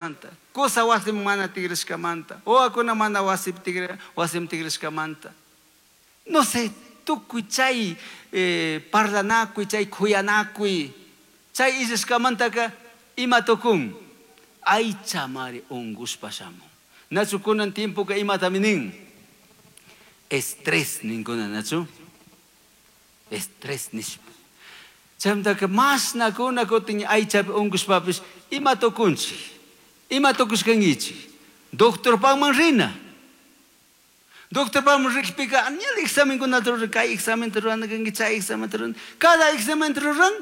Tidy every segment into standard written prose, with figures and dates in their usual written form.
Kusa wasiman mana tigrashkamanta, wawakuna mana wasipi tigra, wasiman tigrashkamanta. No sé, tukuy chay parlanakuy, chay kuyanakuy, chay illashkamantaka ima tukun? Aychamari ungushpa shamun. Nachu kunan tiempoka imatami nin? Estrés ninkuna, nachu? Estrés nishpa. Chaymantaka mashnakuna kutin aychapi ungushpapish ima tukunchik? Ima tukushkankichik? Doctorpakman rina. Doctorpakman rikpika añal examenkunata ruran, kay examenta rurana kanki, chay examenta ruran. Cada examenta ruran,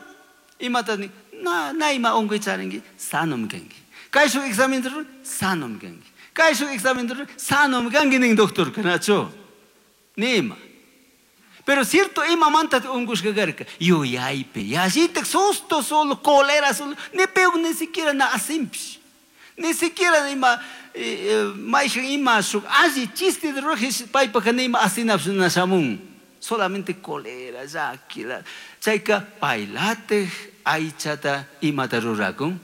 imata nin? Na, na ima unkuy charinki, sanomi kanki. Kay shuk examenta ruran, sanomi kanki. Kay shuk examenta ruran, sanomi kanki nin doctorka, nachu? Nima. Pero cierto, imamanta unkushka karka? Yuyaypi, yallitak susto solo, cólera solo, ni peor ni siquiera na asimpish. Ni siquiera ima mayhan ima shuk alli chiste de rurajish paypaka nima asinapish na shamun. Solamente cólera, llaki, chayka paylatik aychata imata rurakun?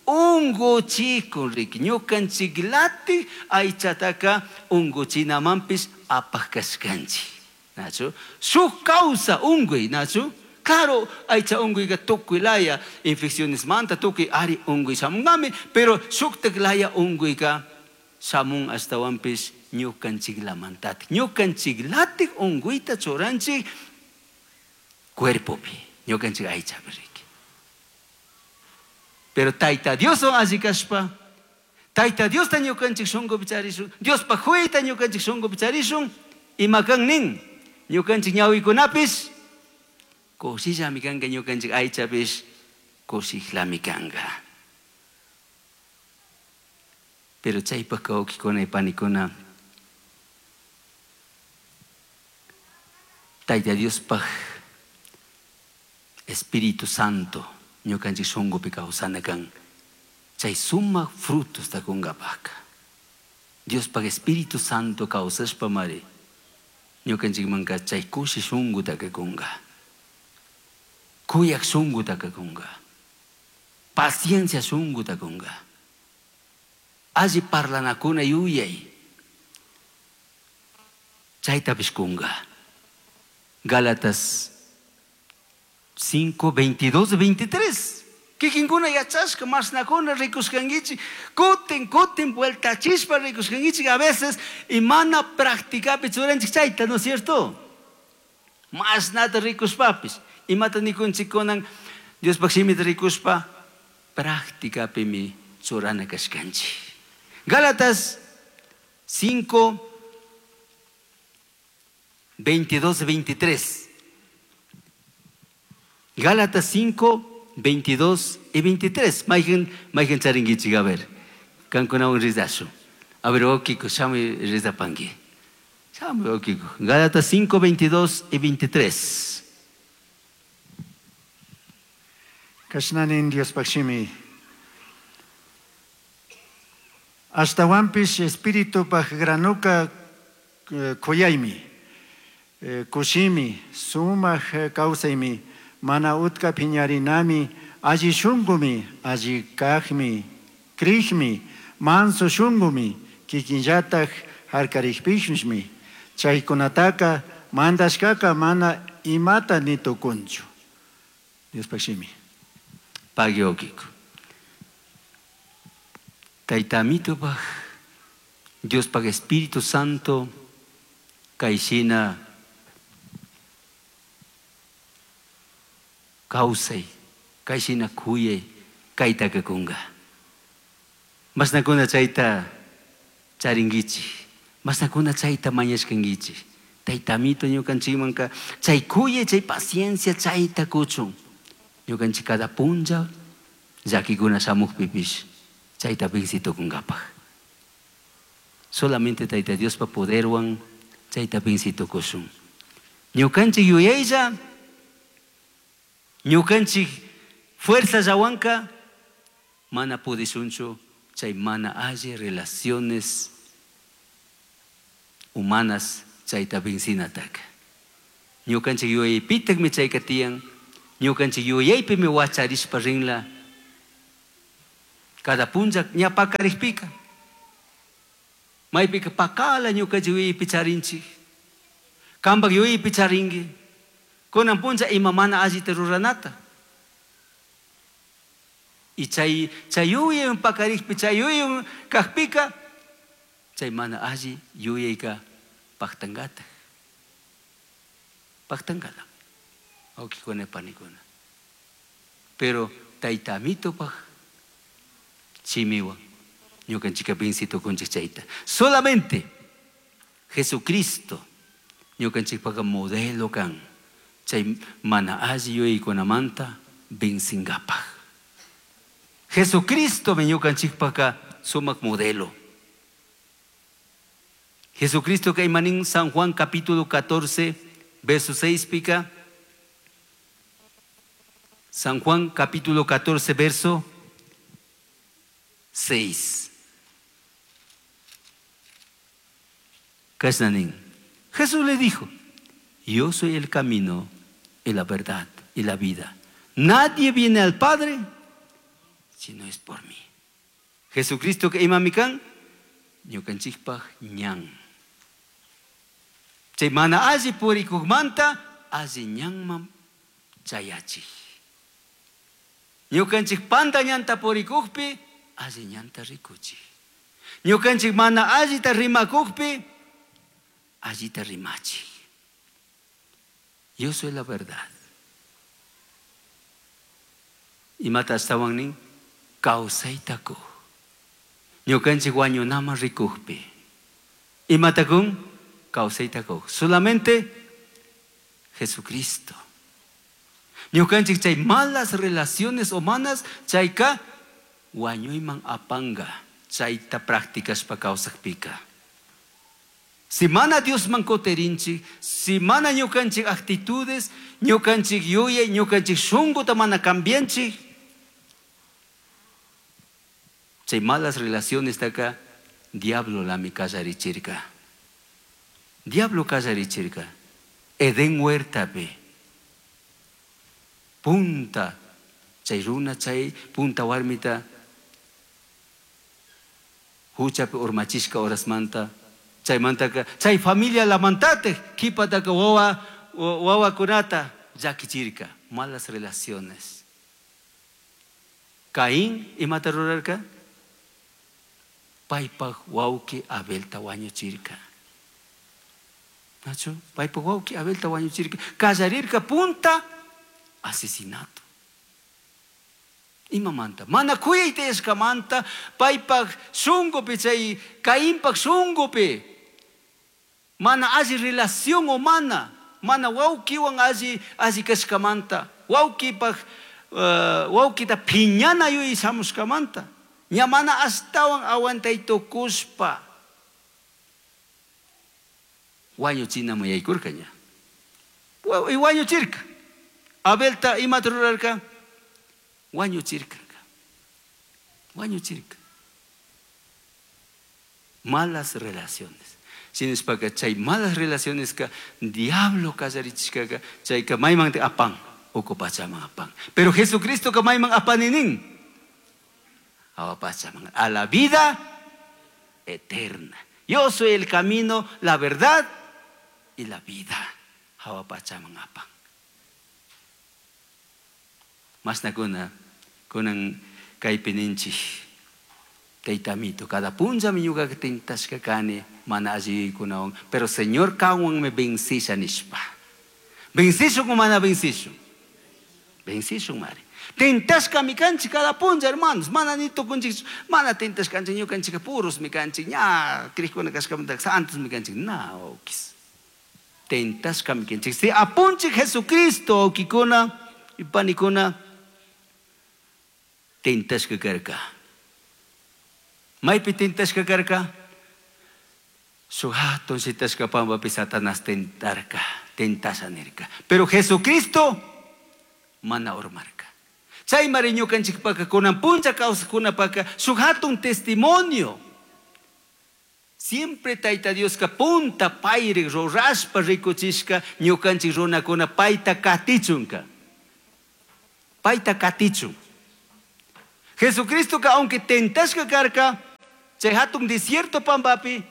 Unguchikun riki, ñukanchiklatik aychataka unguchinamanpish apaj kashkanchik. Nachu? Shuk causa unguy, nachu? Claro, aycha unguyka tukuy laya infecciones manta tukuy ari unguy shamunkami, pero shuktak laya unguyka shamun ashtawanpish ñukanchiklamantatik. Ñukanchiklatik unguyta churanchik cuerpopi, ñukanchik aychapi riki. Pero Tayta Dioswan alli kashpa, Tayta Diosta ñukanchik shunkupi charishun, Diospa huyta ñukanchik shunkupi charishun, ima kan nin, ñukanchik ñawikunapish kushillami kanka, ñukanchik aychapish kushiklami kanka. Pero chaypaj wawkikuna y panikuna, Tayta Diospaj Espíritu Santo ñukanchik shunkupi kawsana kan, chay sumak frutosta kunkapajka. Diospaj Espíritu Santo kawsashpa mari ñukanchikmanka chay kushi shunkutaka kunka, kuyak shunkutaka kunka, paciencia shunkuta kunka, alli parlanakuna yuyay chaytapish kunka. Gálatas 5, 22, 23. Kikinkuna yachashka mashnakuna rikushkankichik, kutin, kutin vueltachishpa rikushkankichik a veces y mana practicapi churanchik chayta, ¿no es cierto? Mashnata rikushpapis, imata nikunchik kunan Diospaj shimita rikushpa practicapimi churana kashkanchik. Gálatas 5, 22, 23. Gálatas 5, 22 y 23. Mayhan, mayhan charinkichik, a ver. Kankunawan rizashu. A ver, okiko, shamuy rizapanki. Shamuy, okiko. Gálatas 5, 22 y 23. Kashnanin Diospaj shimi. Ashtawanpish Espiritupaj granuka kuyaymi, kushimi, sumaj kawsaymi, mana utka piñarinami, alli shunkumi, alli kajmi, krijmi, manso shunkumi, kikinllataj harkarikpishmi, chaykunataka mandashkaka mana imata ni tukunchu. Diospaj shimi. Pagui okiko. Tayta Amitopaj, Diospaj Espíritu Santo, kayshina kawsay, kayshina kuyay, kaytaka kunka. Mashnakuna chayta charinkichik, mashnakuna chayta mañashkankichik. Tayta Amito ñukanchikmanka chay kuyay, chay paciencia chayta kuchun. Ñukanchik cada punlla llakikuna shamukpipish chayta venci tukunkapaj. Solamente Tayta Diospa poderwan chayta venci tukushun. Ñukanchik yuyaylla, ñukanchik fuerza llawanka mana pudishunchu chay mana alli relaciones humanas chayta vencinataka. Ñukanchik yuyaypitakmi chayka tiyan, ñukanchik yuyaypimi wacharishpa rinla. Cada punlla ña pakarikpika. Maypika pakala ñukanchik yuyaypi charinchik. Kampak yuyaypi charinki. Kunan punlla ima mana allita ruranata. Y chay chay yuyaywan pakarikpi, chay yuyaywan kakpika, chay mana alli yuyayka paktankatak. Paktankala. Wawkikuna panikuna. Pero Tayta Amitopak shimiwan ñukanchika venci tukunchik chayta. Solamente Jesucristo ñukanchikpaka modelo kan chay mana alli yuyaykunamanta vencingapak. Jesucristomi ñukanchikpaka sumak modelo. Jesucristo kay manin San Juan capítulo 14 verso 6 pika. San Juan capítulo 14 verso 6. Kashna nin. Jesús le dijo: yo soy el camino y la verdad y la vida. Nadie viene al Padre si no es por mí. Jesucristo que imami kan ñukanchikpaj ñan. Chay mana alli purikukmanta alli ñanman chayachik. Ñukanchik panta ñanta purikukpi alli ñanta rikuchik. Ñukanchik mana allita rimakukpi allita rimachik. Yo soy la verdad. Imata ashtawan nin kawsayta kuj. Ñukanchik wañunaman rikukpi. Imata kun? Kawsayta kuj. Solamente Jesucristo. Ñukanchik chay malas relaciones humanas chayka wañuyman apanga chayta practicashpa kawsakpika. Si mana Diosman kutirinchik, si mana ñukanchik actitudes, ñukanchik yuyay, ñukanchik shunkuta mana cambianchik, chay malas relaciones taka diablo lami kallarichirka. Diablo kallarichirka. Edén huertapi. Punta chay runa chay punta warmita huchapi urmachishka horasmanta chaymantaka chay familia lamantate kipataka wawa wawakunata llakichirka. Malas relaciones. Caín imata rurarka? Paypaj wawki Abelta wañuchirka. Nachu? Paypaj wawki Abelta wañuchirka. Kallarirka punta asesinato. Imamanta? Mana kuyayta yashkamanta paypaj shunkupi chay Cainpaj shunkupi mana alli relación humana, mana wawkiwan alli alli kashkamanta, wawkipaj wawkita phiñana yuyay shamushkamanta, ña mana ashtawan aguantay tukushpa wañuchinaman yaykurka ña. Y wañuchirka. Abelta imata rurarka? Wañuchirka. Wañuchirka. Malas relaciones. Shinashpaka chay malas relaciones ka diablo kallarichishkaka chayka mayman apan, uku pachaman apan. Pero Jesucristo ka mayman apaninin. Awa pachaman, a la vida eterna. Yo soy el camino, la verdad y la vida. Awa pachaman apan. Mashnakuna kunan kaypi ninchik Tayta Amito, cada punllami ñuka tentashka kani mana alli yuyaykunawan, pero Señor kanwanmi vencisha nishpa. Vencishun o mana vencishun? Vencishun mari. Tentashkami kanchik cada punlla, hermanos, mana ni tukunchik, mana tentashkanchik, ñukanchikka purosmi kanchik, ña crishkuna kashkamanta santosmi kanchik, na wawkis. Tentashkami kanchik. Si apunchik Jesucristo, wawkikuna y panikuna, tentashka karka. Maypi tentashka karka? Shuk hatun shitashka pampapi Satanás tentarka, tentasha nirka. Pero Jesucristo mana urmarka. Chaymari ñukanchikpaka kunan punlla kawsaqkunapaka shuk hatun testimonio. Siempre Tayta Dioska punta payri rurashpa rikuchishka ñukanchik runakuna payta katichunka. Payta katichun. Jesucristoka aunque tentashka karka, chay hatun desierto pampapi,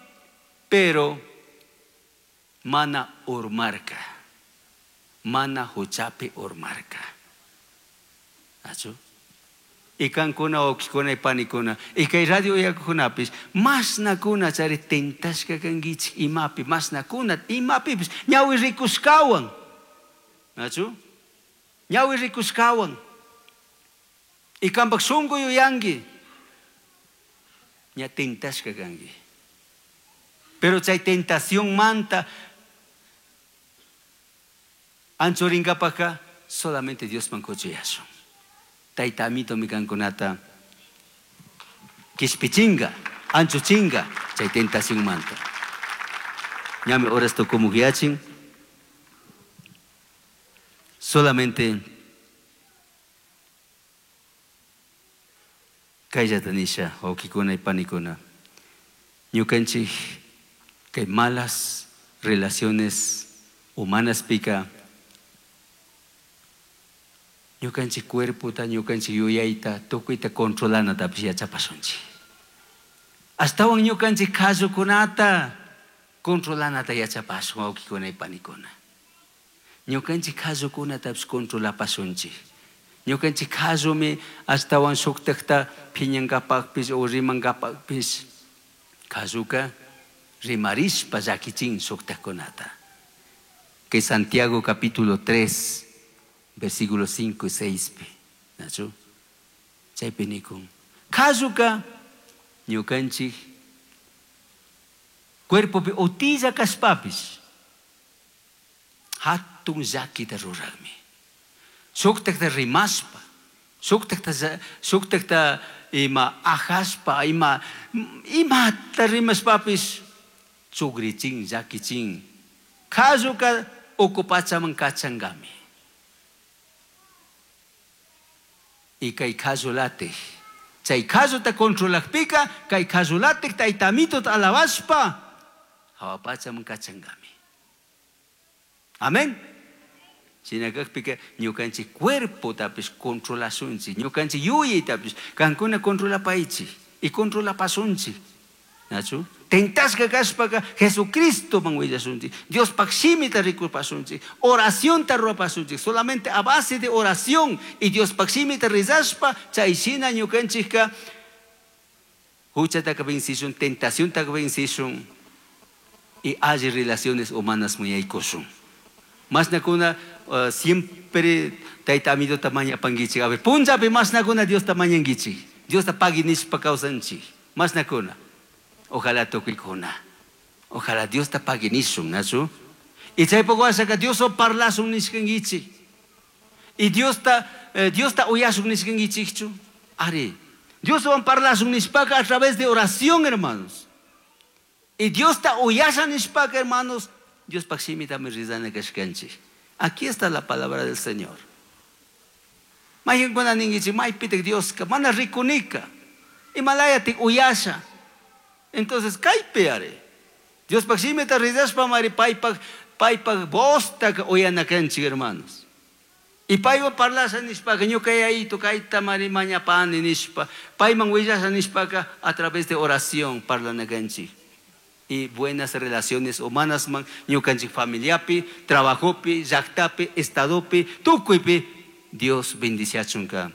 pero mana urmarka, mana huchapi urmarka. Achu? Y kankuna wawkikuna y panikuna, y kay radio uyakukunapis, mashnakuna chari tentashka kankichik imapi, mashnakuna imapipis, ñawi rikushkawan. Nachu? Ñawi rikushkawan. Y kampak shunku yuyanki, ña tentashka kanki. Pero chay tentación manta anchurinkapaka solamente Diosman kuchuyashun. Tayta amito mi kankunata kishpichinga, anchuchinga chay tentación manta. Ñami horas tukumuyachin. Solamente kayllata nisha, wawkikuna y panikuna. Ñukanchik kay malas relaciones humanas pika ñukanchik cuerpota, ñukanchik yuyayta, tukuyta controlanatapish yachapashunchik. Ashtawan ñukanchik qallukunata controlanata yachapashun, wawkikuna y panikuna. Ñukanchik qallukunatapish controlapashunchik. Ñukanchik qallumi ashtawan shuktakta phiñankapakpish o rimankapakpish qalluka rimarishpa llakichin shuktakkunata. Que Santiago capítulo 3, versículos 5 y 6 pi. Nachu? Chaypi nikun. Qalluka ñukanchik cuerpopi utilla kashpapish hatun llakita rurarmi. Shuktakta rimashpa, shuktakta ima ajashpa, imata rimashpapish chugrichin, llakichin. Qalluka uku pachaman kachankami. Y kay qallulatik, chay qalluta controlakpika, kay qallulatik tayta amitota alabashpa, hawa pachaman kachankami. Amén. Shina kakpika ñukanchik cuerpotapish controlashunchik, ñukanchik yuyaytapish kankuna controlapaychik y controlapasunchik. Nachu? Tentashka kashpaka Jesucristoman willashunchik, Diospaj shimita rikupasunchik, oracionta rurapasunchik, solamente a base de oración y Diospaj shimita rezashpa, chay shina ñukanchikka huchataka vencishun, tentaciontaka vencishun y alli relaciones humanas muyaykushun. Mashnakuna siempre tayta amidota mañapankichik. A ver, punllapi mashnakuna Diosta mañankichik. Diosta pagui nishpa kawsanchik. Mashnakuna. Ojalá tukuykuna. Ojalá Diosta pagui nishun, nachu? Y chaypuk washaka Dioswan parlashun nishkankichik. Y Diosta uyashun nishkankichikchu. Ari. Dioswan parlashun nishpaka a través de oración, hermanos. Y Diosta uyasha nishpaka, hermanos, Diospaj shimitami rizana kashkanchik. Aquí está la palabra del Señor. Mayqinkuna ninkichik, maypitik Dioska, mana rikunika. Imalayatik uyasha. Entonces, kaypi ari. Diospaj shimita rizashpa mari paypaj voztaka uyana kanchik, hermanos. Y paywan parlasha nishpaka, ñuka yayito kayta mari mañapani nishpa, payman willasha nishpaka, a través de oración parlana kanchik. Y buenas relaciones humanas man, ñukanchik familiapi, trabajopi, llaktapi, estadopi, tukuypi, Dios bendiciachunka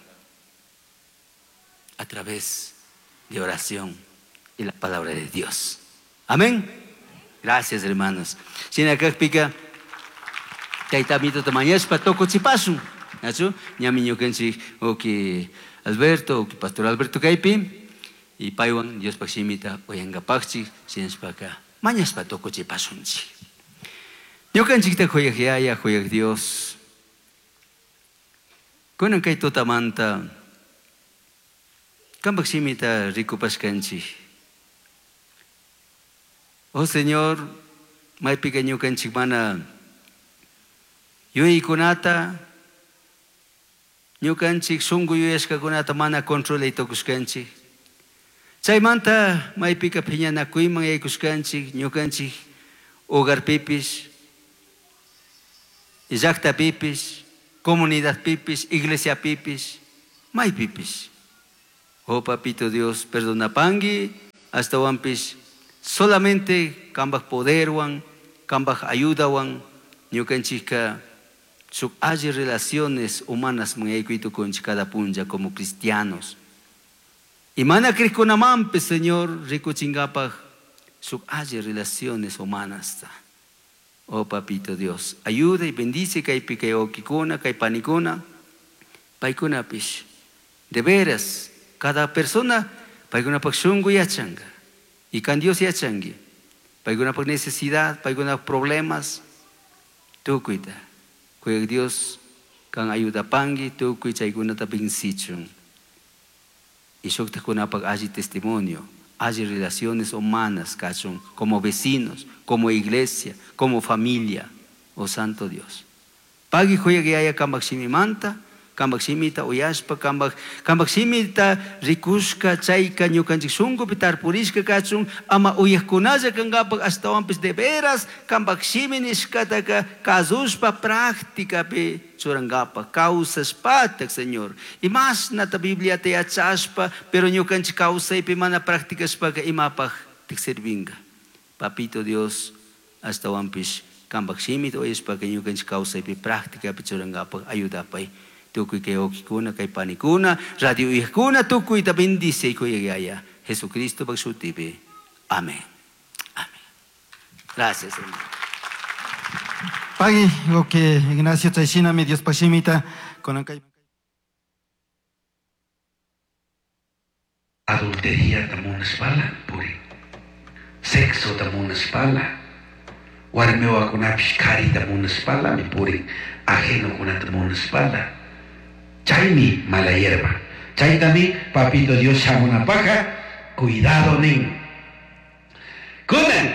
a través de oración y la palabra de Dios. Amén. Gracias, hermanos. Shina kakpika, tayta amito mañashpa tukuchipasun. Nachu? Ñami ñukanchik, oki Alberto, oki Pastor Alberto kaypi, y paywan Diospaj shimita uyankapakchik, shinashpaka mañashpa tukuchipasunchik. Ñukanchikta huyaj yaya, huyaj Dios. Kunan kay tutamanta kampak shimita rikupashkanchik. Oh Señor, maypika ñukanchik mana yuyaykunata, ñukanchik shunku yuyashkakunata mana controlay tukushkanchik. Chaymanta maypika phiñanakuyman yaykushkanchik, ñukanchik hogarpipis, llaqtapipis, comunidadpipis, iglesiapipis, maypipis. Oh papito Dios, perdonapangui, ashtawanpish solamente cambaj poderwan, cambaj ayudawan, ñukanchikka shuk alli relaciones humanas yaykuytukunchik cada punlla como cristianos. Y mana crikunamanpish, Señor, rikuchinkapaj shuk alli relaciones humanas. Oh papito Dios, ayuda y bendice kaypi kay wawkikuna, kay panikuna, paykunapish. De veras, cada persona paykunapak shunku yachanka. Y kan Dios yachanki. Paykunapak necesidad, paykunapak problemas, tukuyta. Kuyak Dios kan ayudapanki tukuy chaykunata vencichun. Y shuktakunapak alli testimonio, alli relaciones humanas kachun, como vecinos, como iglesia, como familia. Oh Santo Dios. Pagui kuyak yaya kambak shimimanta, kambak shimita uyashpa, kambak shimita rikushka, chayka ñukanchik shunkupi tarpurishka kachun, ama uyakkunalla kankapak ashtawanpish de veras kambak shimi nishkataka kasushpa prácticapi churankapak, kawsashpatak, Señor. Imashnata Bibliata yachashpa, pero ñukanchik kawsaypi mana practicashpaka imapaj sirvinka. Papito Dios, ashtawanpish kambak shimita uyashpaka ñukanchik kawsaypi prácticapi churankapak ayudapay. Tukuy kay wawkikuna, kay panikuna, radio uyakuna, tukuyta bendice kuyak yaya. Jesucristo pak shutipi. Amén. Amén. Gracias, hermano. Pagui, ok, Ignacio chayshinami Dios shimita kunan kay Adultería tamunashpala puri. Sexo tamunashpala. Warmiwakunapish karita munashpalami purin. Ajenokunata munashpala. Chaymi mala hierba. Chaytami papito Dios shamunapaja, cuidado nin. Kunan,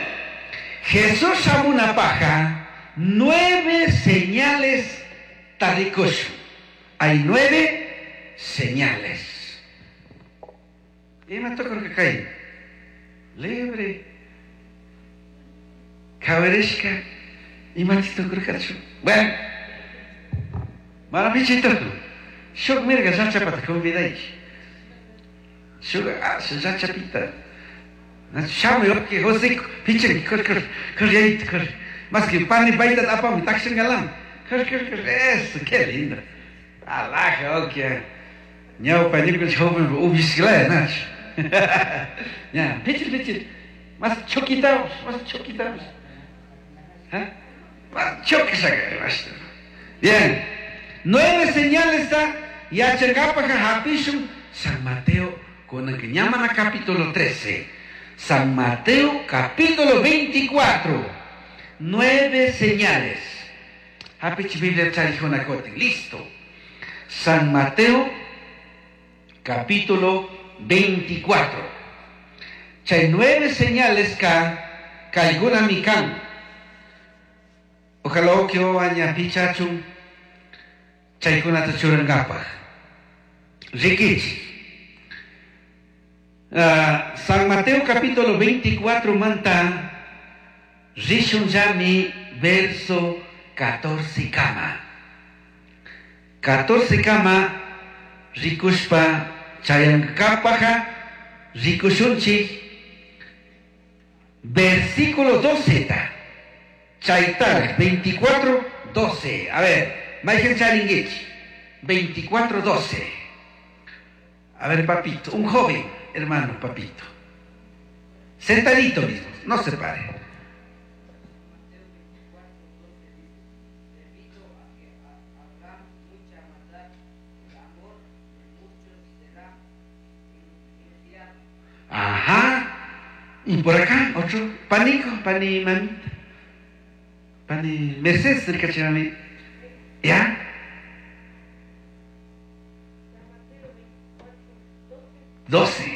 Jesús shamunapaja, 9 señales tarikush. Hay 9 señales. Y me tocó que cae. Libre. Kawerishka. Y me tocó que cae. Bueno. Maravichito. Shuk mirga llachapata convidayki. Shuk llachapita. Shamuy waki José pichan kor kor kor yayit kor. Más que pan y baita apami takshangalam. Kor kor kor eso, qué lindo. Alaja, ok. Ñawpa ñukanchik joven ubishkilaya nach. Ya, pichir pichir. Más choquitamos, más choquitamos. ¿Ah? Más choquisaka. Bien. 9 señales está. Yachankapaja hapishun San Mateo con el que llaman a capítulo 13. San Mateo capítulo 24. 9 señales. Hapich Biblia charijonacote. Listo. San Mateo capítulo 24. Chay 9 señales ka kaiguna mikan. Ojalá que aña pichachun. Chaykunata churankapaj. Rikichi. San Mateo capítulo 24 manta rishun yami verso 14 kama. 14 kama rikushpa chayankapaja rikushunchik versículo 12 ta. Chaytar 24 12. A ver, Michael Charinguich, 24 12. A ver, papito, un joven, hermano, papito. Sentadito mismo, no se pare. Ajá. Y por acá, otro, panico, pani mamita. Pani Mercedes, cerca ¿Ya? 12. Y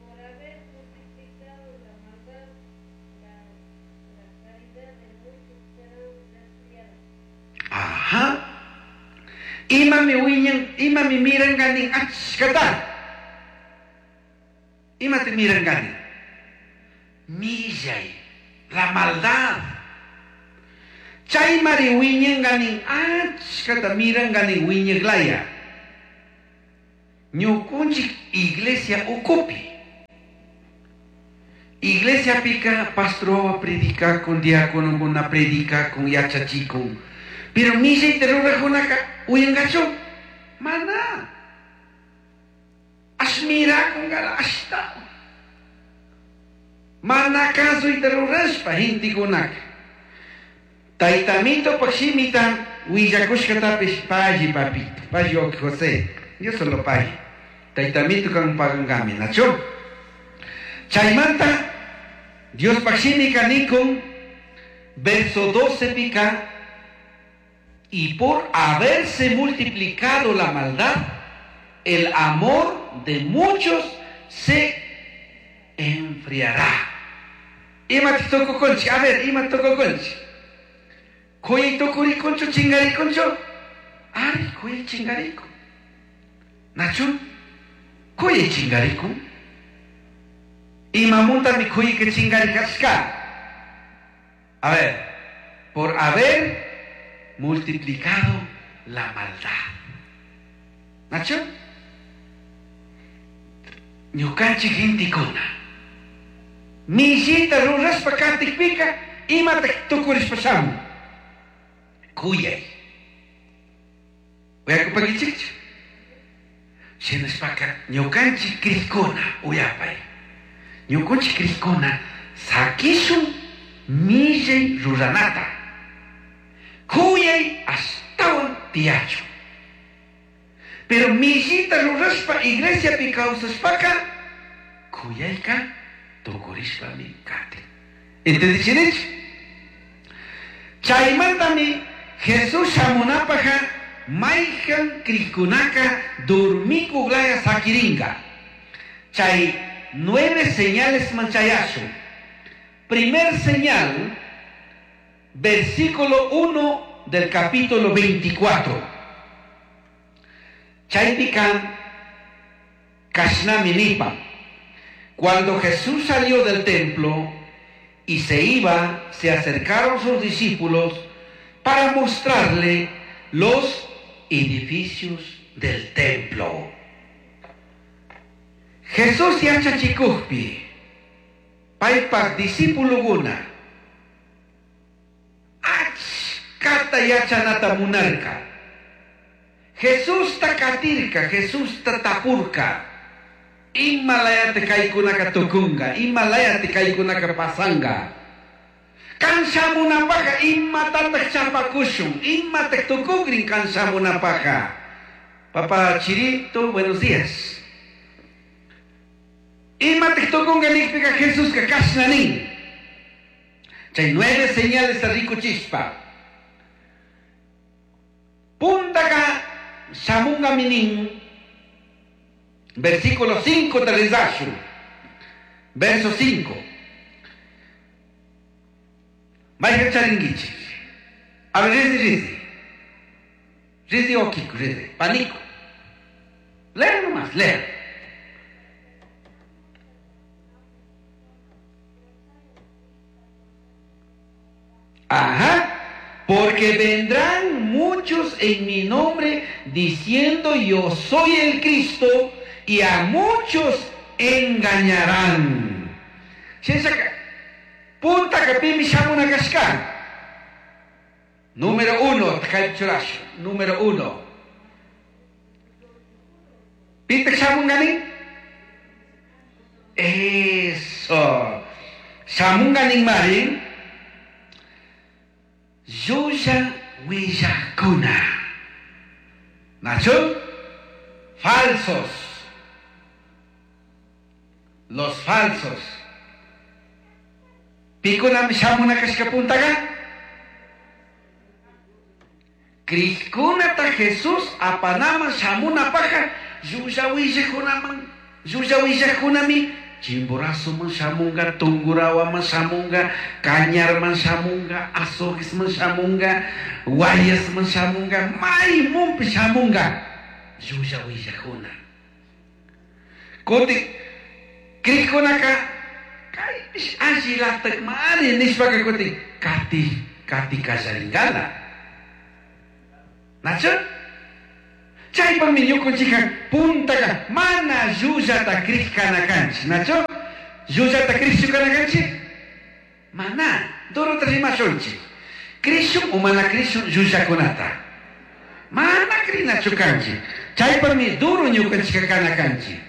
por haber multiplicado la maldad, la caridad de muchos será enfriada. Ajá. Ima mi wiñan, ima mi miran ganin achkata. Ima te miran ganin. Millay, la maldad. Chay mari wiñan ganin achkata miran ganin wiñaglaya. Ñukunchik iglesia ukupi. Iglesia pika pastor predicakun, diáconokuna predicakun, yachachikun. Pero millayta rurajkunaka uyankachu? Mana. Ashmirakungala ashtawan. Mana kasuyta rurashpa gentekunaka. Taytamito shimita willakushkatapish palli papito, palli wawqi José, Dios solo palli. Taytamito kan pagankami, nachu? Chaymanta Diospaj shimika nikun, verso 12 pika, y por haberse multiplicado la maldad, el amor de muchos se enfriará. Ima tukukunchik, a ver, ima tukukunchik. Kuyay tukurikunchu, chingarikunchu. Ari, kuyay chingarikun. Nachu, kuyay chingarikun. Imamuntami kuyayka chingarikashka. A ver, por haber multiplicado la maldad. Nachu, ñukanchik gentekuna. Millita rurashpa katikpika, imatak tukurishpa shamun. Kuyay. Uyakupankichikchu. Shinashpaka ñukanchik crikuna uyapay. Ñukanchik crikuna sakishun millay ruranata. Kuyay ashtawan tiyachun. Pero millita rurashpa iglesiapi kawsashpaka kuyayka tukurishpami katin. ¿Entendichinichu? Chaymantami Jesús shamunapaja mayjan krikunaka dormikuglaya sakirinka. Chay 9 señales manchayashu. Primer señal, versículo 1 del capítulo 24. Chaypikan kashnami nipa. Cuando Jesús salió del templo y se iba, se acercaron sus discípulos para mostrarle los edificios del templo. Jesús yachachikujpi, paypak discípulokuna, achkata yachanata munarka. Jesusta katirka, Jesusta tapurka. Imalayate kaykunaka tukunga, imalayate kaykunaka pasanga. Kan shamunapaja imatataq chapakushun, imataq tukugrin kan shamunapaja. Papá Chirito, buenos días. Imataq tukunga nikpika Jesuska kashna nin. Chay 9 señales rikuchishpa. Puntaka shamunga minin. Versículo 5 te rezashu. Verso 5. Vaya charinguichi. A ver, rizi, rizi. Rizi o Kiko, rizi. Panico. Lea nomás, lea. Ajá. Porque vendrán muchos en mi nombre diciendo yo soy el Cristo, y a muchos engañarán. Punta kapimi shamuna kashka. Número 1, takaychurash. Número 1. ¿Pita shamunganin? Eso. Shamunganin marin. Llulla willakuna. Nacho? Falsos. Los falsos. Pikunami shamuna kashka puntaga. Krishkunata Jesús apanama shamuna paja. Llulla willakunaman. Llulla willakunami. Chimborazoman shamunga, Tungurahuaman shamunga, Cañarman shamunga, Azoguesman shamunga, Guayasman shamunga, Maymunpi shamunga. Llulla willakuna. Kuti krikunaka kaypish allilatak mari nishpaka kuti kati kati kallaringala. Nachu? Chaypaqmi ñuqunchikqa puntaqa mana llullata kriq kana kanchik, nachu? Llullata kriqchu kana kanchik? Mana, duruta rimashunchik. Krishun o mana krishun llullakunata? Mana krinachu kanchik. Chaypaqmi duro ñuqanchikqa kana kanchik.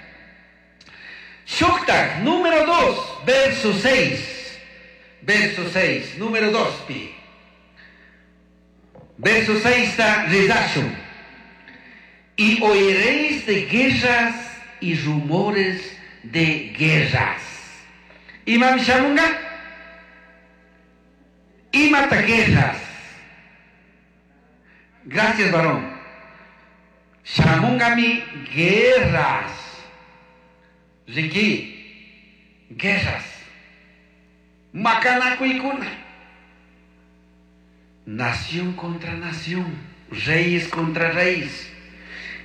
Shuktak, número 2, verso 6. Verso 6, número 2 pi. Verso 6 ta rezashun. Y oiréis de guerras y rumores de guerras. Imam shamunga? Imata guerras. Gracias, varón. Shamungami guerras. Ricky, guerras. Macanakuykuna. Nación contra nación, reyes contra reyes,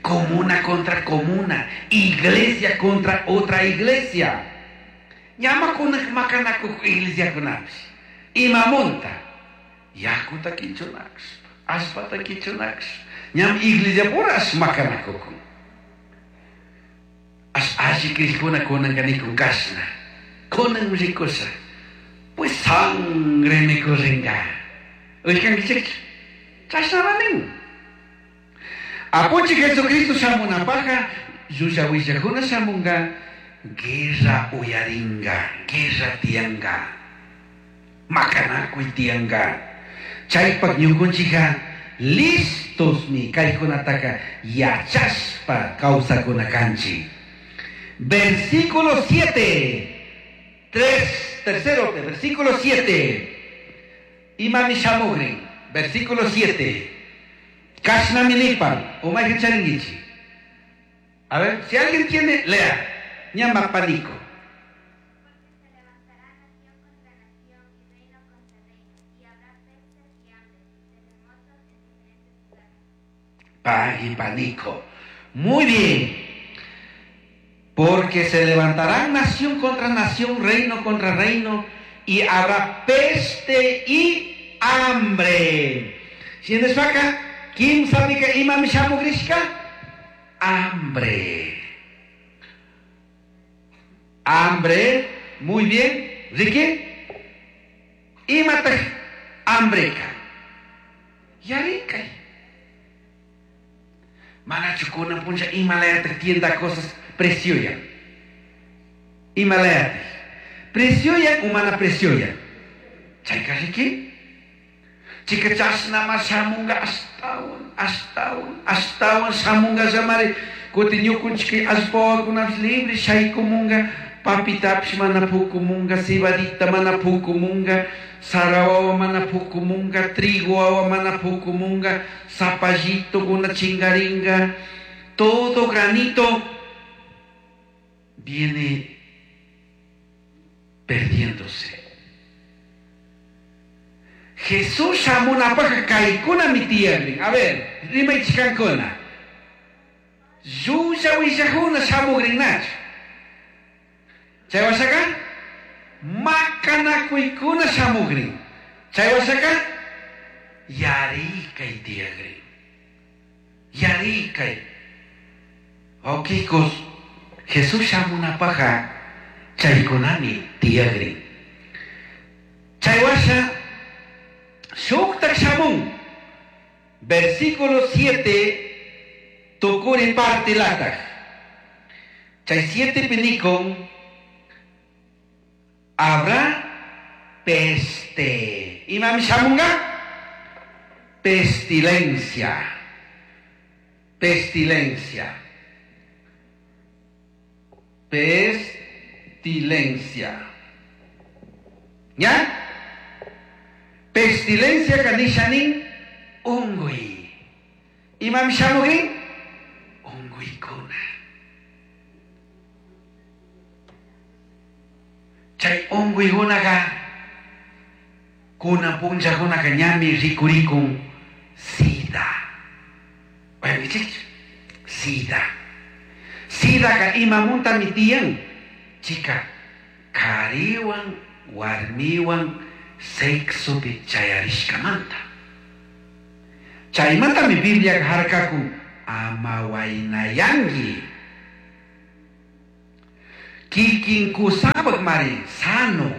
comuna contra comuna, iglesia contra otra iglesia. Ñamakuna makanaku iglesia kunapish. Imamunta, yakuta kichunakshpa, allpata kichunakshpa. Ñam iglesia purash makanakukun. Ash alli krishkuna kunanka nikun kashna. Kunan rikusha. Pues sangre mikuringa. Uykankichikchu. Chashnama nin. Apunchik Jesucristo shamunapaja, llulla willakuna shamunga, guerra uyaringa, guerra tianga, makanakuy tianga. Chaypak ñukunchikka listosmi kaykunataka yachashpa kawsakuna kanchik. Versículo 7, tres, tercero, versículo 7. Imami shamugrin, versículo 7. Kashnaminipan, o charingichi. A ver, si alguien tiene, lea. Ñama panico. Porque se levantará nación contra nación y reino contra reino, y habrá pestes y hambres y terremotos en diferentes lugares. Pag y panico. Muy bien. Porque se levantarán nación contra nación, reino contra reino, y habrá peste y hambre. ¿Sientes acá? ¿Quién sabe que imam shamugrishka? Hambre. Hambre. Muy bien. Ricky. Imata hambreka. Yarikay. Manachu kuna puncha Himalaya tienda cosas preciosa. Himalaya. Preciosa humana preciosa. Chayka Ricky. Chica chashnama shamunga ashtawan, ashtawan, ashtawan shamunga llamare. Kuti ñukunchik allpawakunapish libre shaykumunga, papitapish mana pukumunga, cebadita mana pukumunga, sara wawa mana pukumunga, trigo wawa mana pukumunga, zapallito kuna chingaringa, todo granito viene perdiéndose. Jesús shamunapaj kaykuna mi tiyagrin. A ver, rimaychikankuna. Llulla willajuna shamugrinnachu. Chay washaka makanakuykuna shamugrin. Chay washaka yarikay tiyagrin. Yarikay. Wawqikos, Jesús shamunapaja chaykunami tiyagrin. Chay washa shuktak shamun. Versículo 7, tukuri parte lataj. Chay 7 pinikon, habrá peste. Imam shamunga? Pestilencia. Pestilencia. Pestilencia. ¿Ya? Pestilencia kanishanin ungui. Imam shamugin? Unguykuna. Chay unguykunaqa kunan punllakunaqa ñami rikurikun sida. Uyankichikchu? Sida. Sidaqa imamuntami tiyan. Chica, kariwan, warmiwan sexopi chayarishkamanta. Chaymantami Biblia harkakun Ama wainayangi. Kikin kusapaq mari sano.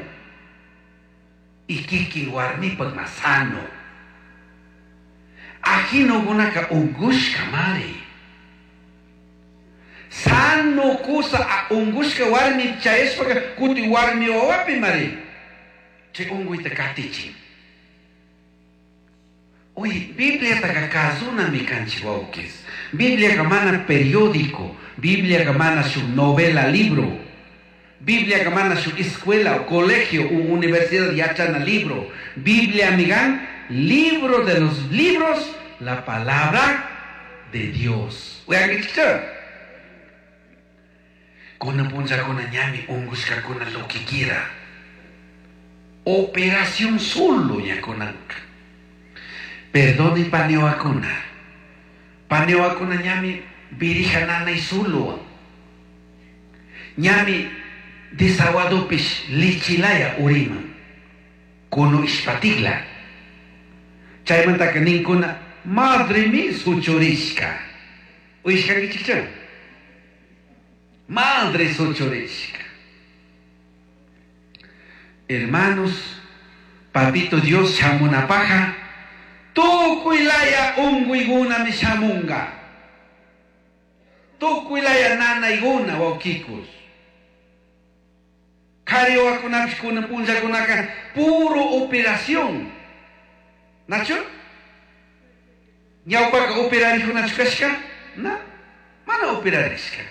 Y kikin warmipaq ma sano. Ajinokunaka ungushka mari. Sano kusa ungushka warmi chayashpaka kuti warmi wawapi mari. Chay unguyta katichin. Oye, Bibliataka kazunami kanchik wawkis. Bibliaka mana periódico, Bibliaka mana shuk novela libro. Bibliaka mana shuk escuela o colegio u universidad yachana libro. Biblia migan, libro de los libros, la palabra de Dios. Uyankichikcha. Kuna punllakuna ñami ungushkakuna lo que quiera. Operación solo ñakunanka. Perdone paneoakuna. Paneoakuna ñami birija nanay solo. Ñami desaguadopish lichilaya uriman. Kuno ishpatigla. Chaymantaka ninkuna madre mi suchurishka. Uyishkankichikcha. Madre suchurishka. Hermanos, papito Dios shamunapaja, tukuylaya unguyguna mi shamunga. Tukuylaya nanayguna wawkikus. Kari wawakunapish kunan punllakunaka puro operación. Nachu? Ñawpaka operarikunachu kashka? Na, mana operarishka.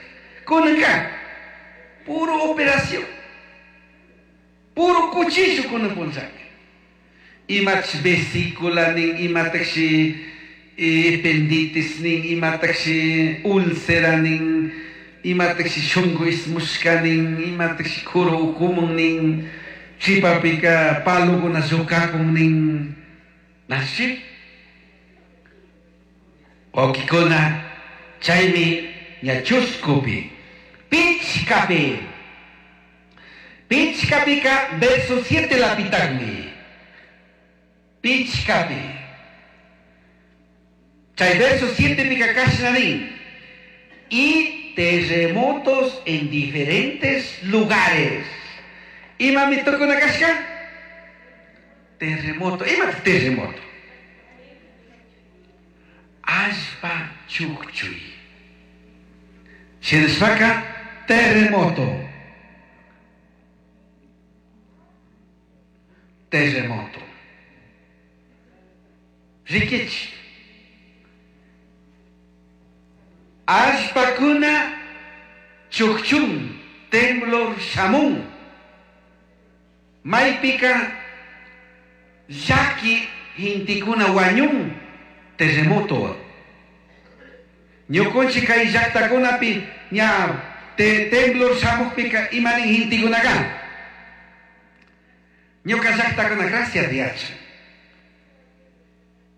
Kunanka puro operación. Puro cuchillo kunan punllaka. Imatashi vesícula nin, imatashi ependitis nin, imatashi úlcera nin, imatashi shunku ismushka nin, imatashi kuru ukumun nin, chipapika palukuna llukakun nin. Nashi? Wawkikuna, chaymi ña chuskupi, pichkapi. Pichkapika verso 7 lapitagmi. Pichkapi. Chay verso 7 pika kashna nin. Y terremotos en diferentes lugares. Ima mi tukuna kashka? Terremoto. Ima terremoto. Allpa chukchuy. Shinashpaka terremoto. Terremoto. Rikich. Allpakuna chukchun, temblor shamun. Maypika llaki hintikuna wañun terremoto. Ñukunchik kay llaqtakunapi ña temblor shamuqpika imanin hintikunaka. Ñuka llaqtakuna gracias Dios.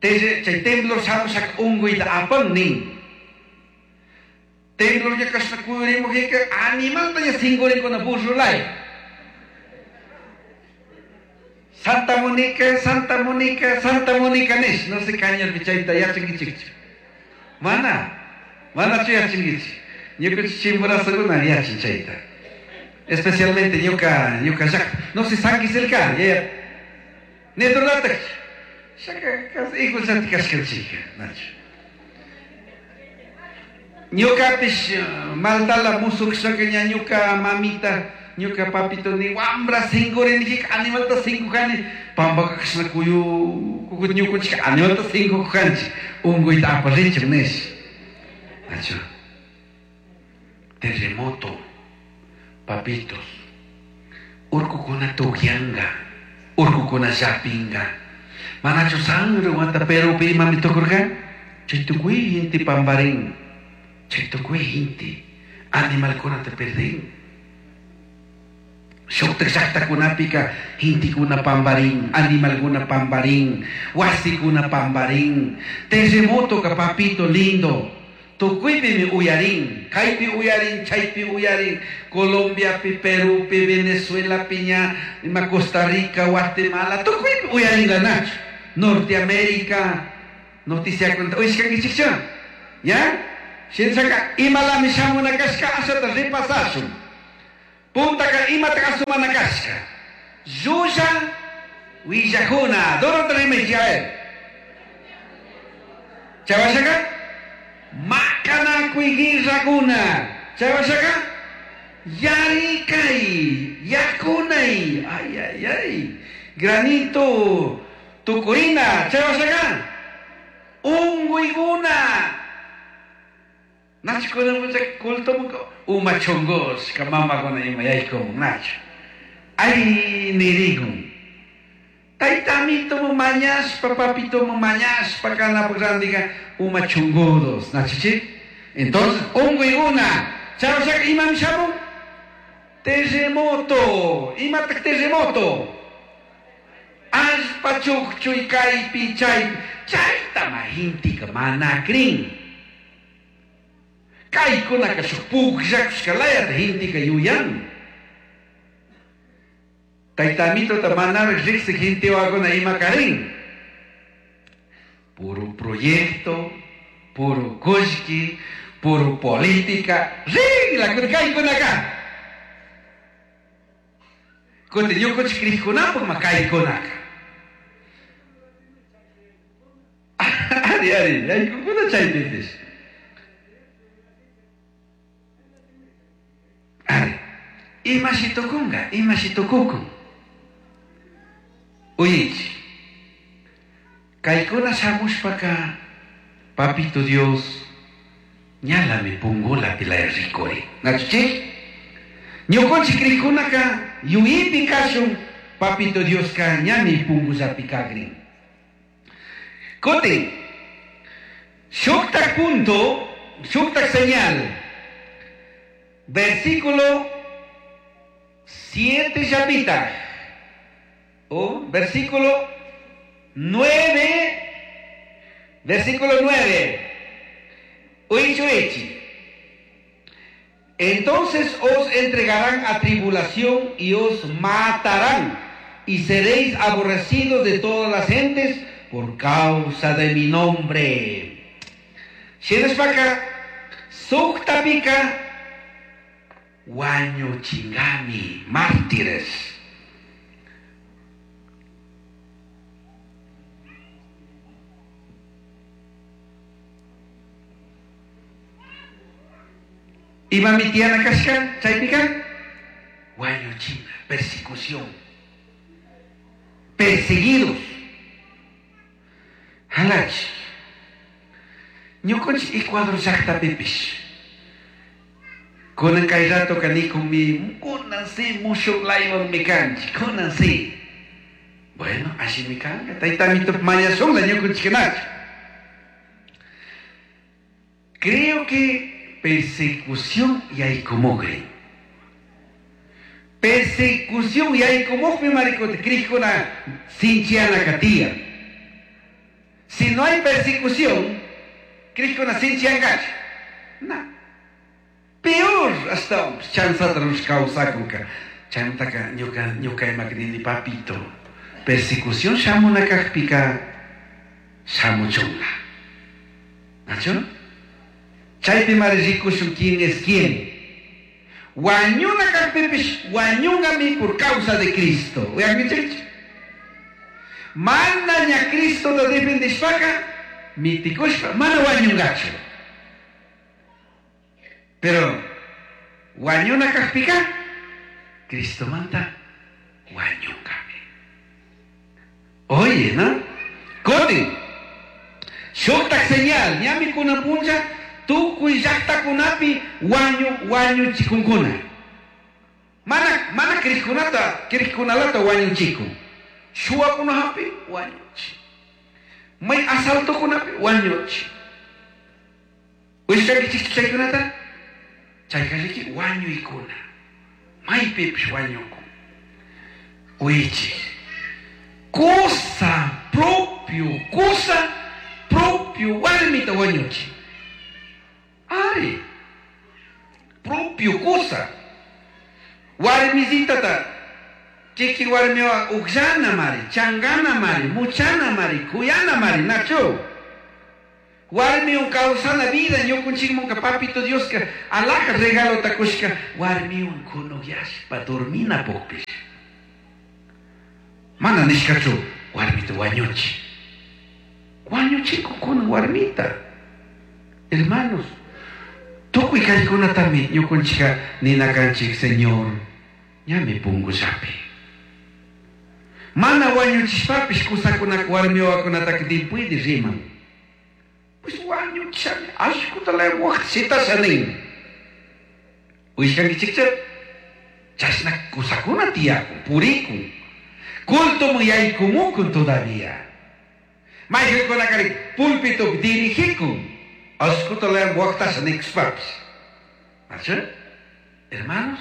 Chay temblor shamushak unquyta apan nin. Temblor ña kashna kuyurimuqika animalta ña sinkurinkuna burrulay. Santa Mónica, Santa Mónica, Santa Mónica nish. No sé cañarpi chayta yachankichikchu. Mana, manachu yachankichik. Ñukanchik Chimborazokuna yachan chayta. Especialmente ñuka llaqta. No sé San Quiselca, ya. Neturlatak. Shaka kas igual kashkanchik, nachu. Ñukapish maltala musukshaka ña ñuka mamita, ñuka papito ni wambra sinkurinijika animalta sinkujani. Pampaka kashna kuyu, kukut ñukunchik animalta sinkujanchik. Unkuyta aparinchik nish. Nachu. Terremoto, papitos. Urkukuna tukyanga, urkukuna llapinga. Manachu sangre wata Perupi imami tukurka? Chay tukuy inti pamparin. Chay tukuy inti animalkunata perdin. Shuktak llaqtakunapika intikuna pamparin, animalkuna pamparin, wasikuna pamparin. Terremoto ka papito lindo. Tukuypimi uyarin, kaypi uyarin, chaypi uyarin, Colombiapi, Perupi, Venezuela piña, ima Costa Rica, Guatemala, tukuypi uyarin ganachu. Norteamérica, noticia cuenta, uyashkankichikchu? Ya? Shinashaka imalami shamuna kashka ashata repasashun. Puntaka imata asumana kashka. Llulla willajuna. Dorota rimaychi, a ver. Chay washaka? Makanakuy guerrakuna. Chay washaka? Yarikay, yakunay. Ay, ay, ay. Granito, tukurina. Chay washaka? Unguykuna. Nachu kunan puncha culto uma chongoshka mamakuna ima yaykumun nachu. Ay nirikun. Taytamito mañashpa, papito mañashpa kanapuk randika uma chongodos. Nachuchi? Entonces, unguykuna. Chay washaka imami shamun? Terremoto. Imatak terremoto? Allpa chukchuy kaypi chaypi. Chaytama hintika mana crin. Kaykunaka shuk pukllakushkalayata hintika yuyan. Taytamitota manaraq riqsik hintiwakuna ima karin. Puro proyecto, puro kullki, puro política. Rinla kaykunaka. Kutin ñukunchik krikkunapuk ma kaykunaka. Ari, ari, yaykukuna chaypipish. Ari, imashi tukunka, imashi tukukun. Uyaychik. Kaykuna shamushpaka, Papito Dios, ñalami pungulapi laya rikuri. Nachuchik? Ñukunchik krikkunaka yuyaypi kashun, Papito Dioska ñami pungullapi kakrin. Kutin, shuktak punto, shuktak señal. Versículo 7 llapita. O versículo 9, versículo 9. Uichuichi. Entonces os entregarán a tribulación y os matarán, y seréis aborrecidos de todas las gentes por causa de mi nombre. Shinashpaka, suktapika, wañuchingami, mártires. Imami tiyana kashka, chaypika, wañuchina, persecución, perseguidos. Halach, ñukunchik Ecuador llaqtapipish. Kunan kay rato kanikun mi, kunan si mushuk laywan mi kanchik, kunan si. Bueno, allimi kanka, taytamito mañashunla ñukunchik. Creo que persecución yaykumugrin. Persecución yaykumugmi maricota, krikuna sinchiana katiya. Si no hay persecución, krikuna sinchiangacha. No. Peor hasta chanzata kawsakunka. Chaymantaka ñuka ñuka imaka nini papito. Persecución shamuna kajpika shamuchunla. ¿Nacho? Chaypi mari rikushun quién es quién. Wañuna kajpipish wañungami por causa de Cristo. Uyankichikchu? Mana ña Cristo ta defendishpaka mitikushpa mana wañungachu. Pero wañuna kajpika Cristo manta wañungami. Oye, ¿no? Kutin. Shuktak señal, ñami kunan puncha tukuy llaqtakunapi wañu wañuchikunkuna. Mana mana krikkunata krikkunalata wañuchikun. Shuwakunapi wañuchi. May asaltokunapi wañuchi. Uyashkankichikchu chaykunata? Chayka riki wañuykuna. Maypipish wañukun. Uychik. Cosa propio, cosa propio warmita wañuchi. Ari. Propio cosa. Warmisitata kikin warmiwa ukllana mari, changana mari, muchana mari, kuyana mari, nachu. Warmiwan kawsana vida ñukunchikmunka papito Dioska alhaja regalota kushka warmiwan kunukyashpa dorminapukpish. Mana nishkachu warmita wañuchi. Wañuchikunkuna warmita. Hermanos, tukuy kaykunatami ñukunchika nina kanchik Señor, ñami pungullapi. Mana wañuchishpapish kusakunaka warmi wawakunataka dipuydi riman. Pues wañuchishami allkuta waqta shitasha nin. Uyashkankichikcha? Chashna kusakuna tiyakun, purikun. Cultoman yaykumukun todavía. Mayqinkunakari pulpitupi dirigikun. Allkuta waqtasha nikushpapish. ¿Acha? Hermanos,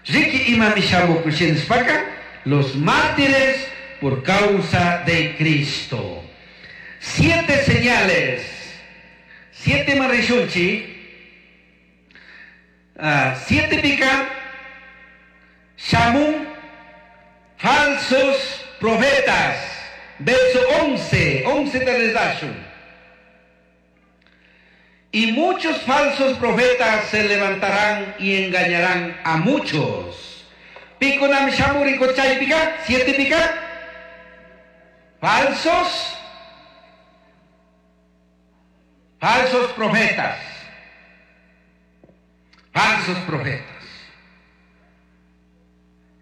riki imami shamukun shinashpaka, los mártires por causa de Cristo. 7 señales. 7 marishunchi. 7 pica. Shamun falsos profetas. Verso 11. 11 te les. Y muchos falsos profetas se levantarán y engañarán a muchos. Pico nam shamuri chay pica. 7 pica. Falsos. Falsos profetas. Falsos profetas.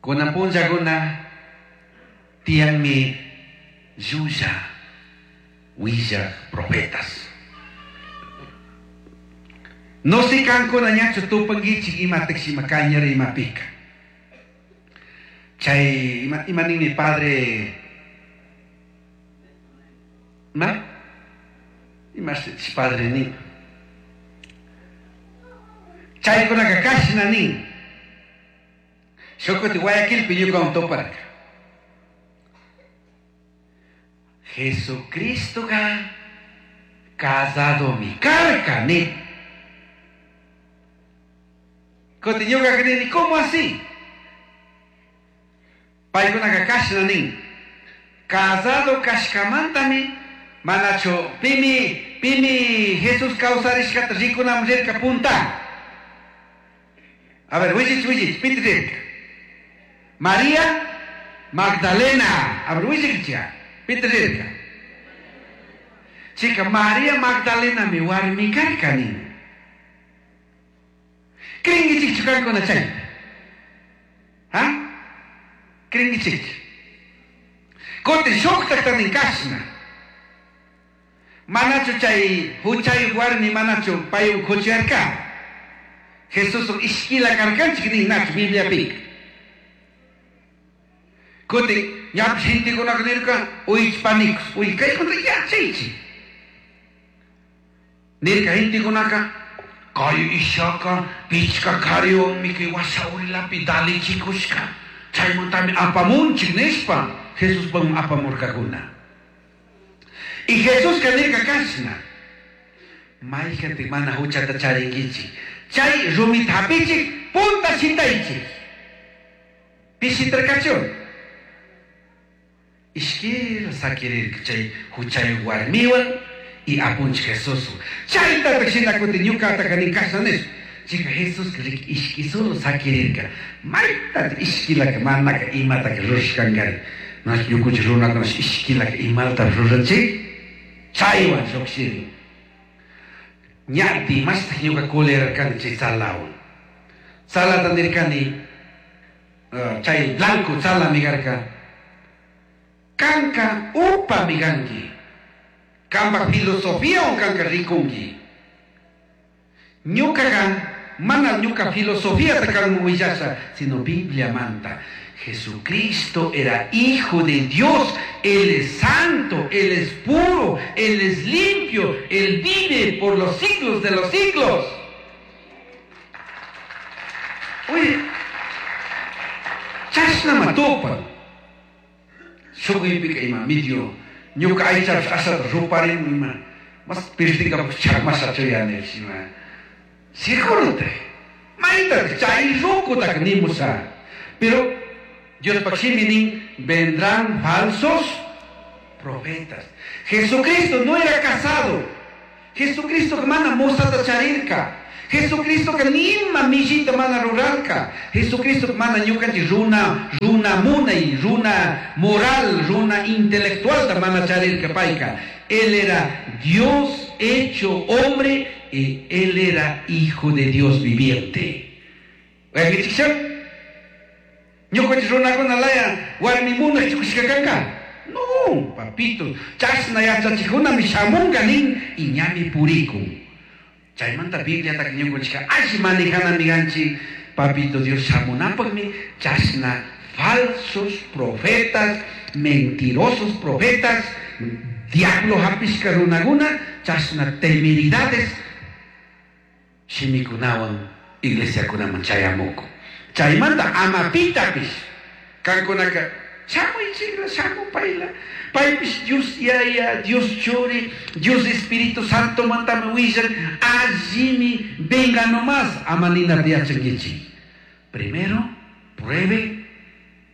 Kunan punllakuna tiyanmi llulla willaj profetas. No si kankuna ñachu tupankichik imatak ima kañara imapika. Chay ima, ima ninmi padre ma ima padre nin. Chaykunaka kashna nin. Shukuti Guayaquilpi ñukawan tuparka. Jesucristoka casadomi karka nin. Kuti ñukaka nini, ¿cómo así? Paykunaka kashna nin. Casado kashkamantami manachu pimi pimi Jesús kawsarishkata rikunaman rirka punta. A ver, willich, willich, piti rirka. María Magdalena. A ver, willich, piti rirka. Chica, María Magdalena mi warmi karka nin. Cringichikchu kankuna chayta? Ha? Cringichikchu. Kutin shuktakta nin kashna. Manachu chay huchayuq warmi manachu paywan kuchuyarka. Jesuswan ishkila karkanchik nin nachu Bibliapika. Kutin ñapish gentekunaka nirka uychpanikus, uy kaykunata yachaychik. Nirka gentekunaka kay ishaka pichka kariwanmi kay washa urilapi dalichikushka. Chaymantami apamunchik nishpa Jesuspaman apamurkakuna. Y Jesuska nirka kashna. Mayqantik mana huchata charinkichik. Chay rumita hapichik punta shitaychik. Pishitarkachu. Ishkila sakirirka chay huchayuq warmiwan y apunchik Jesuswan. Chaytataq shina kutin ñukataka nin kashna nishpa. Chika Jesuska riki ishki solo sakirirka. Maytataq ishkilaka manaka imataka rurashkankari. Nachu ñukunchik runakunash ishkilaka imalata ruranchik. Chaywan llukshirin. Ñati mastaq ñuka kulerarkani chay tzalawan. Tzalata nirkani, chay blanco tzalami karka. Kanka upami kanki. Kanpak filosofiawan kanka rikunki. Ñukaka mana ñuka filosofiata kanman willasha, sino Bibliamanta. Jesucristo era hijo de Dios, Él es santo, Él es puro, Él es limpio, Él vive por los siglos de los siglos. Oye, chashnama tupan. Shukuypika ima medio, ñuka aychapish ashata ruparin ima, mas pirtinkapak chakmashachu yanish ima. Seguro te, mayta chay rukutaka nimusha. Pero Diospak shimi nin, vendrán falsos profetas. Jesucristo no era casado. Jesucristo mana musata charirka. Jesucristo ka nima millita mana rurarka. Jesucristo mana ñukanchik runa, runa munay, runa moral, runa intelectual ta mana charirka payka. Él era Dios hecho hombre y él era hijo de Dios viviente. Ñukanchik runakuna laya warmi munay chukushka kanka. No, papito, chashna yachachikkunami shamunka nin y ñami purikun. Chaymanta Bibliataka ñukanchikka alli manejanami kanchik, papito Dios shamunapakmi chashna falsos profetas, mentirosos profetas, diablo hapishka runakuna, chashna temeridades shimikunawan iglesiakunaman chayamuku. Chaymanta ama pitapish kankunaka shamuychikla, shamupayla, paypish Dios Yaya, Dios Churi, Dios Espíritu Santo mantami willan, allimi venga nomás, ama ninata yachankichik. Primero, pruebe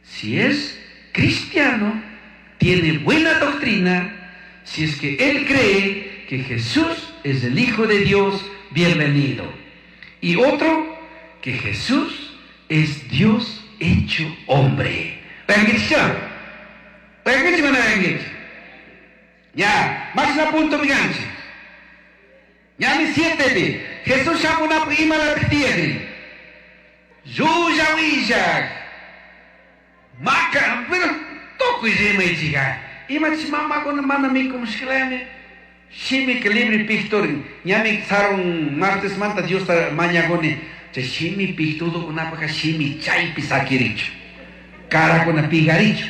si es cristiano, tiene buena doctrina, si es que él cree que Jesús es el Hijo de Dios, bienvenido. Y otro, que Jesús es Dios hecho hombre. Ya, más a punto mi ganchi. Ya mi siete bi. Jesús shamuna ima la tiegri. Yuya willa. Maca, pero toco y rima y chica. Ima chimama con mana mi como shilame. Shimi que libre pictor. Ñami sarun martes manta Dios ta mañagone. Che shimi pictudo una paca shimi chaypi sakiricho. Cara con pigaricho.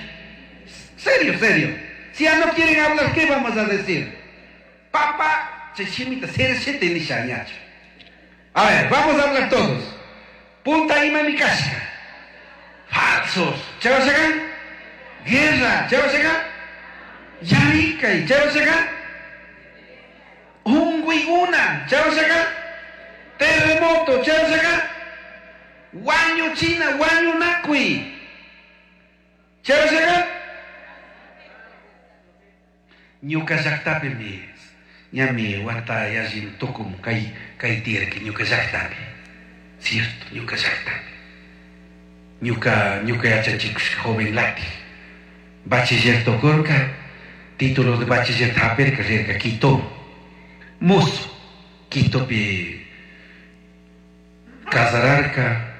Serio, serio. Si ya no quieren hablar, ¿qué vamos a decir? Papá, che shimi ta ser siete ni shañacho. A ver, vamos a hablar todos. Punta ima mi casca. Falsos. ¿Che va a sacar? Guerra. ¿Che va a sacar? Yarika. ¿Che va a sacar? Ungüiguna. ¿Che va a sacar? Terremoto. ¿Che va a sacar? Guaño China, guaño Nacui. ¿Che va a sacar? Ñuka llaqtapi mi ñami wata yallin tukum kay kay tiyarki ñuka llaqtapi. Cierto, ñuka llaqtapi. Ñuka ñuka yachachikushka joven lati. Bachiller tukurka, título de bachiller hapirka rirka Quito. Mozo, Quitopi casararka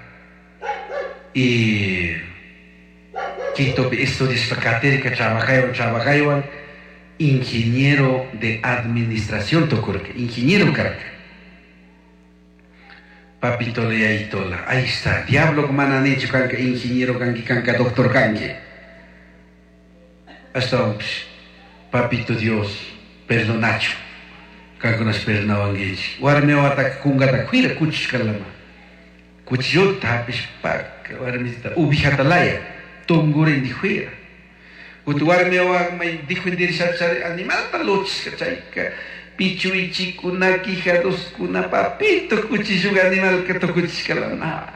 y Quitopi estudiashpa katirka trabajaywan trabajaywan ingeniero de administración tukurka, ingeniero karka. Papito leyaitola, ahí está, diablo mana nichu kanka ingeniero kanki kanka doctor kanki. Hasta papito Dios, perdonachu. Kankunash perdonawankichik. Warmi wawataka kunkata cuida kuchushkalama. Cuchillota hapishpa warmisita ubijata laya, tungurin dijuira. Kutin warmi wawa may dijuindirishachari animalta luchishka chayka pichuichikuna, quijaduskuna, papito cuchilluga animalka tukuchishkalama.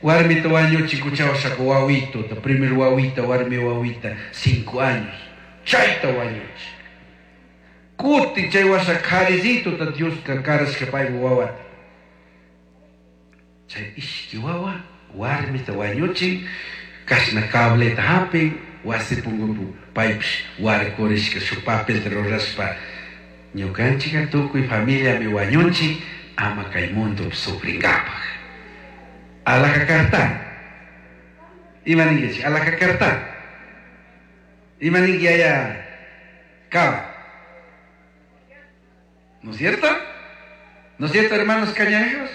Warmita wañuchi kuchawashaka wawito, primer wawita, warmi wawita, 5 años. Chayta wañuchi. Kutin chay washa karizito ta Dios ka karashka paypa wawata. Chay ishki wawa, warmita wañuchi, kashna cableta hapin, wasi punkupi paypish warkurishka shuk papelta rurashpa ñukanchika tukuy familiami wañunchik ama kay mundo sufrinkapaj. Alhaja karta. Ima ninkichik? Alhaja karta. Ima ninki yaya kaba. ¿No es cierto? ¿No es cierto, hermanos cañareros?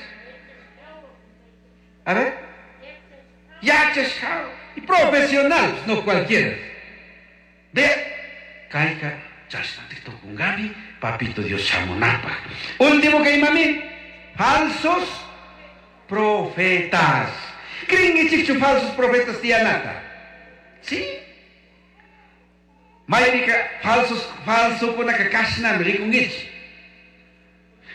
A ver. Yachashkao. Y profesional, no cualquiera. De caiga, chashnati tukunkami, papito Dios shamunapa. Último que mami, falsos profetas. Creen falsos profetas tiyanata? ¿Sí? Maypika falsos, falso kunaka kashnami rikunkichik.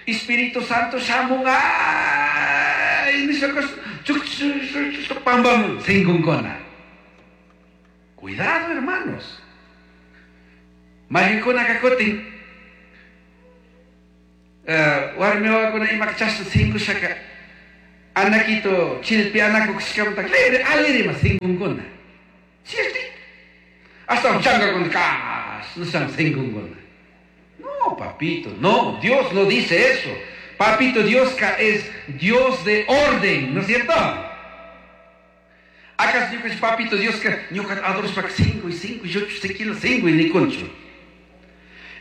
Espíritu Santo shamun, ay, nishaka, chuk, chuk, chuk, chuk, pam, pam, sinkunkuna. Cuidado, hermanos. Maykunaka kutin. Warmi wawakuna imaka chashna sinkushaka anakito chilpi anakukushkamanta libre alirima sinkunkuna. Cierto? Hasta chankakuna kashna sinkunkuna. No, papito, no, Dios no dice eso. Papito, Dios es Dios de orden, ¿no es cierto? ¿Acaso ñuka papito Dios que ñuka adorashpaka 5 y 5 y 8 kilo 5 y nikunchu?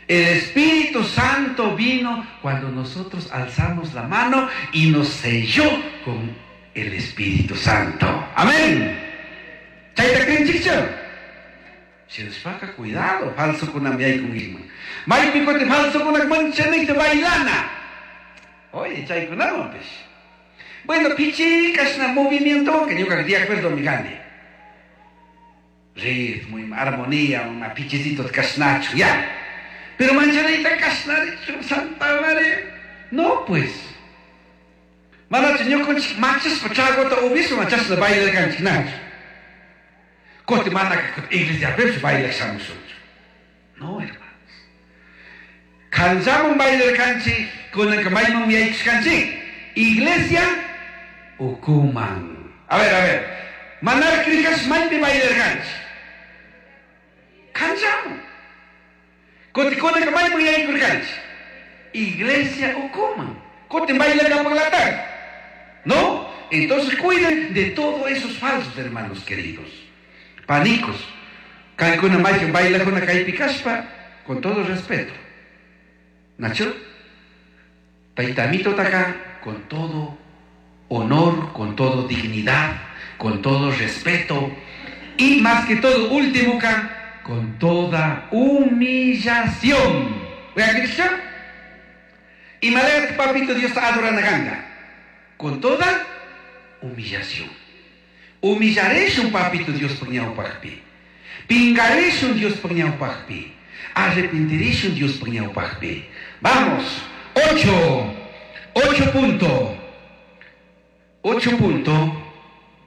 El Espíritu Santo vino cuando nosotros alzamos la mano y nos selló con el Espíritu Santo. Amén. Chayta krinchikchu? Shinashpaka cuidado, falsokunami yaykunkiman. Maypi kutin falsokunak manchanikta bailana. Oye, chaykunawanpish. Bueno, pichi kashna movimiento que ñuka de acuerdo mi gane. Ritmo, armonía, una pichicito kashnachu, ya. Pero manchanita kashnarichu, Santa María. No, pues. Manachu ñukanchik machashpa tragota upispa machashna bailarkanchik nachu. Kuti mana iglesiapipish bailak shamushunchu. No, hermanos. Kanllaman bailarkanchik, kunanka mayman yaykushkanchik. Iglesia ukuman. A ver, a ver. Manar krikash maypi bailarkanchik. Kanllaman. Kuti kunanka mayman yaykurkanchik. Iglesia ukuman. Kuti bailarkapaklatak. ¿No? Entonces cuiden de todos esos falsos, hermanos queridos. Panicos. Kaykuna maykan bailakuna kaypi kashpa, con todo respeto. Nacho, taytamito taka, con todo honor, con todo dignidad, con todo respeto y más que todo, último ka, con toda humillación. ¿Vean? Y malaya papito Dios adora ganga. Con toda humillación. Humillaré un papito Dios por ñawpaqpi. Pingaré un Dios por ñawpaqpi. Arrepentiré un Dios por ñawpaqpi. Vamos. 8. 8 punto. 8 punto.